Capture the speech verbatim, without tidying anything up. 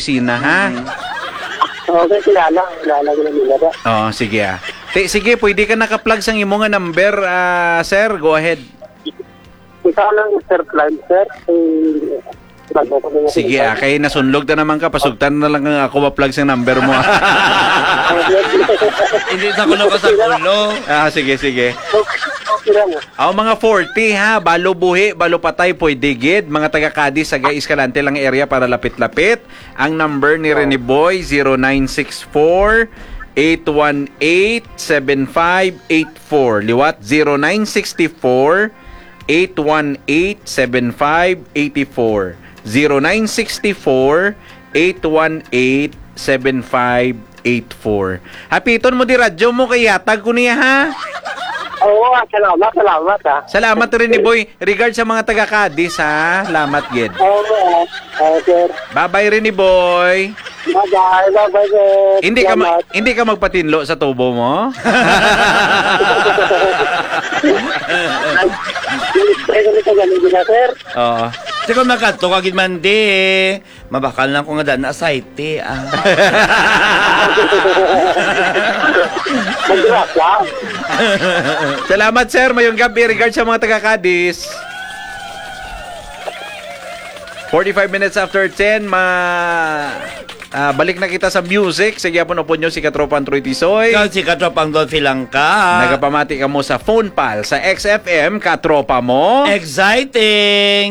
Sina, ha? Mm. Okay, kilala. Kilala ko na nila ba? Oh, sige, ah. Ti, sige, pwede ka naka-plug sang imo nga number, ah, sir. Go ahead. Ikaw lang, Sir Clive, sir. Eh, bago ko na Sige, ah, kay nasunlog ta naman ka, pasugtan na lang nga ako ma-plug sang number mo, ah. Hindi sa kuno ka sa kulo. Ah, sige, sige. Okay, okay lang. Aw, mga forty, ha, balo buhi, balo patay, pwede gid. Mga taga Cadiz, Sagay, Escalante lang area para lapit-lapit. Ang number ni Rene Boy, zero nine six four, eight one eight, seven five eight four. Liwat, zero nine six four, eight one eight, seven five eight four. Zero nine six four, eight one eight, seven five eight four. Hapiton mo di radyo mo kay yatag ko niya, ha? Oo, ah, salamat, salamat, ah. Salamat, Rene Boy. Regard sa mga taga Cadiz, ha? Salamat gid. Oo, ah, ah, sir. Bye-bye, Rene Boy. Bye-bye, bye-bye, sir. Hindi ka ma- Salamat. hindi ka magpatinlo sa tubo mo? Ay, ganito, ganito na, sir. Oo. Di ko magkadto ka gid man di. Mabakal lang ko nga daan na asayte, ah. Mag-rap lang. Salamat, sir. Mayong gabi. Regard sa mga taga Cadiz. Forty-five minutes after ten, ma ah, balik na kita sa music. Sa gyapon upod nyo si Katropang Troy Tisoy. Ikaw si Katropang Dolphy Langka. Nagapamati ka mo sa phone pal sa X F M, katropa mo. Exciting!